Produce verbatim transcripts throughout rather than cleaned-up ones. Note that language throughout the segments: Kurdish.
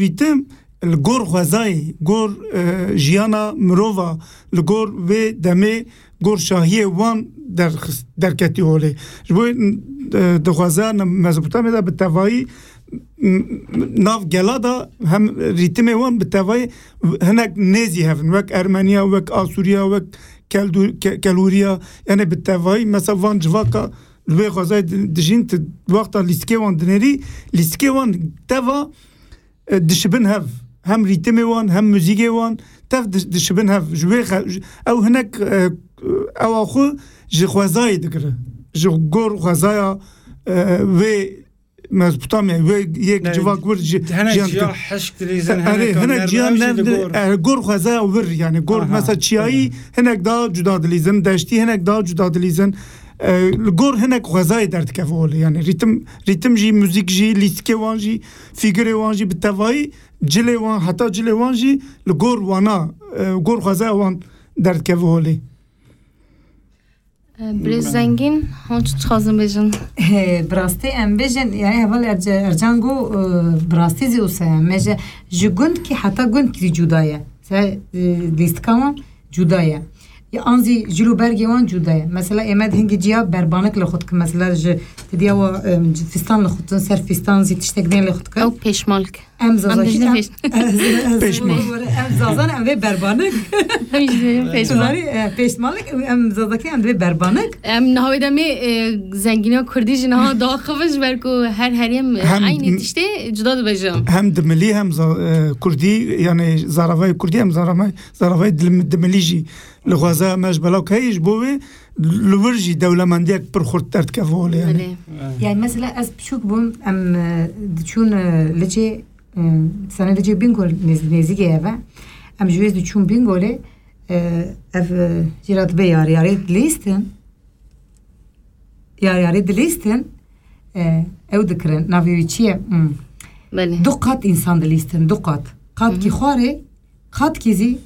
rîtim li gor xwezayê, gor, e, jiyana mirova, li gor vê demê, gor şahiyê wan derxist-, derketî holê. Ji bo, e, di xwezaya Mezopotamya de bi tevayî, m-, m-, nav gela de hem rîtimê wan bi tevayî hinek nêzî hev in, wek Ermeniya, wek Asûriya, wek Keldu-, Ke-, Kelûriya, yani bi tevayî, mesela van civaka li wê xwezayê di-, dijîn, tu wexta lîstikê wan dinêrî, lîstikê wan teva, e, dişibin hev. Hem rîtimê wan, hem muzîkê wan tev di-, dişibin hev. Ji wê xe-, ji, ew hinek, e, ewa xwe ji xwezayê digire. Ji gor xwezaya, e, wê Mezopotamya, wê yek Yani, civak wir ji, hinek jiyan ciya dikir. Hişk dilîzin, Erê, hinek hinek ciyan nermiyaj ne, jî li gor. E, gor xwezaya wir, yani gor Aha. mesela çiyayî hinek daha cuda dilîzin, deştî hinek daha cuda dilîzin. E, li gor hinek xwezayê derdikeve holê. Yani rîtim, rîtim jî, muzîk jî, lîstikê wan jî, fîgurê wan jî bi tevayî cilê wan, heta cilê wan jî li gor wana, e, gor xwezaya wan derdikeve holê. E, Birêz Zengîn, hûn çi dixwazin bêjin? He, bi rastî em bêjin, yani heval Erce-, Ercan got, e, bi rastî zî wisa ye. Me ji, ji gundkî heta gundkî zî cuda ye. Se, e, lîstika wan cuda ye. Ya an zî cil û bergê wan cuda ye. Mesela ê me di hingî ciya berbanik li xwe dikin. Mesela ji, ti diya wa, e, fîstan li xwe dikin, ser fîstan zî tiştek bên li xwe dikin. Ew pêşmalik. Em Zazakî, em, ez, ez, Pêşmalik. Em Zazan em vê berbanik. Em jî dibêjin pêşmalik. Zarî, e, pêşmalik, em Zazakî em vê berbanik. Em niha wê demê, e, zengîniya kurdî jî niha daxivin ji ber ku her herêm, e, Hem eynî tiştê cuda dibêjin. Hem dimilî hem za-, e, kurdî, yani zaravayê kurdî hem zaravay-, zaravayê dilim-, dimilî jî li xwezaya me ji belav heye, ji bo wê li wir jî dewlemendiyek pir xurt derdikeve holê, yani. Belê. Yani mesela ez piçûk bûm, em, e, diçûn, e, Licê, e, sene Licê Bîngol nêz-, nêzîkê ev e. Em ji wê diçûn Bîngolê, e, ev, e, jî re dibe yariyarê dilîstin. Yariyarê dilîstin, e, ew dikirin. Navê wî çi ye? Hmm. Belê. Du qat însan dilîstin, du qat. Qatkî Hı hı. xwarê, qatkî zî,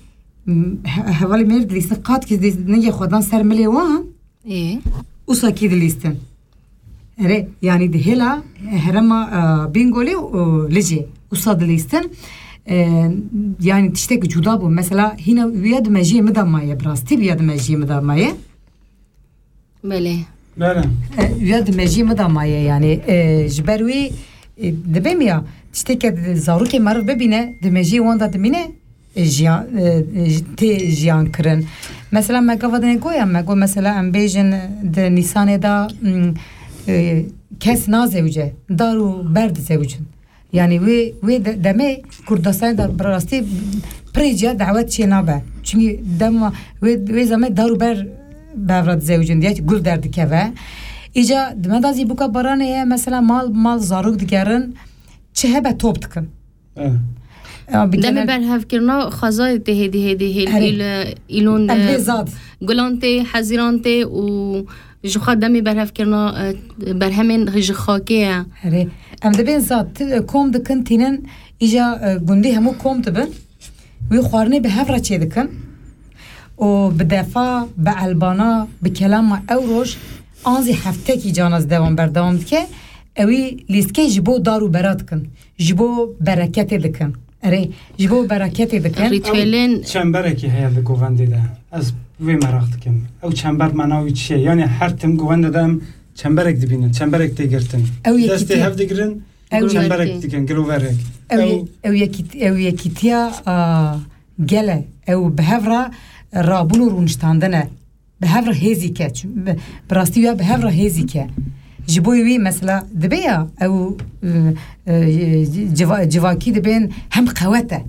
hmm, he-, hevalê mêr dilîstin, qatkî zî ningê xwe dan ser milê wan. Ê. Usakî dilîstin. Erê, yani di hêla herema, e, Bîngolê û Licê. Usa dilîstin. E, yani tiştek cuda bû. Mesela hîna wîya di mejiyê min de maye, bi rastî wîya di mejiyê min de maye. Belê. Belê. E, wîya di mejiyê min de maye yani. E, ji ber wî, e, dibêm ya, tişteke di zarokê meriv bibîne, di mejiyê wan de dimîne, e, jiyan, e, e, tê jiyan kirin. Mesela me gava dinê goya, me got mesela em bêjin di Nîsanê de, mm, e, kes nazewce, dar û ber dizewicin. Yani wê, wê de-, demê Kurdistanê de bi rastî pirê ciya dawet çê nabe. Çünkü dema wê, wê zemê dar û ber bi hev re dizewicin diye gul derdikeve. Îca di me de zî bûka baranê ye, mesela mal, mal zarok digerin, çi hebe top dikin. Evet. Ya, bi Demê genel berhevkirina xwezayê tê hêdî hêdî hêl Erê. îl-, îlon Em de vê zad. gulan tê, hezîran tê û ji xwe demê berhevkirina, e, berhemên ji xakê ye. Erê. Em dibên zad, ti-, kom dikin tînin îca, e, gundî hemû kom dibin. Wî xwarinê bi hev re çê dikin. û bi defa, bi elbana, bi kelama ew roj an zî heftekî cana zî devam berdewam dike. Ewî lîstikê ji bo dar û bera dikin. Ji bo bereketê dikin. Erê, ji bo bereketê dikin. Rîtuelên Çemberekî heye li govendê de. Ez vê meraq dikim. Ew çember mana wî çi ye? Yani her tim govendê de em çemberek dibînin, çemberek tê girtin. Ew Destê yekîtiye. hev digirin, Ew çemberek yekî- dikin, giroverek. Ew Ew ye-, ew yekît-, ew yekîtiya, a, gel e. Ew bi hev re rabûn û rûniştandin e. Bi hev re hêzî ke. Çi-, bi, bi rastî ya bi hev re hêzî ke. Ji bo wî mesela dibe ya ew, e, e, civa-, civakî dibên hem qewet e.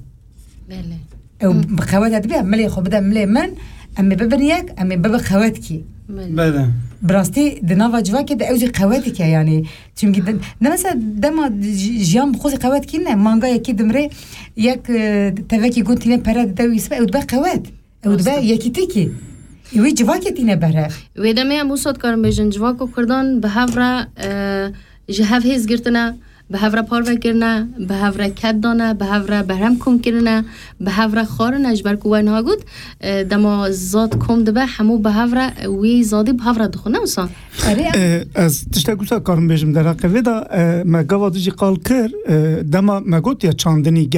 Belê. Ew Hı. bi qewet e dibe, milê xwe bide milê min, em ê bibin yek, em ê bibe qewet kî. Belê. Belê. Bi rastî di nava civakê de ew jî qewet dike yani. Çünkü de, de mesela dema ji-, jiyan bi xwe zî qewet kî ne, manga yekî dimrê, yek, e, tevekî gund tîne pere dide wî sibe, ew dibe qewet. Ew dibe Rast e. yekîtî kî. Wî civakê tîne berhev. Wê demê em wisa dikarin bêjin, civako Kurdan bi hev re, e, ji hev hêz girtine, bi hev re parve kirine, bi hev re ked dane, bi hev re berhem kom kirine, bi hev re xwarine, ji ber ku we niha got, e, dema zad kom dibe, hemû bi hev re wî zadî bi hev re dixwin, ne wisa? Erê, em- E, ez tiştek wisa karim bêjim derheqê vê de, e, me gava dijî qal kir, e, dema me got ya çandinî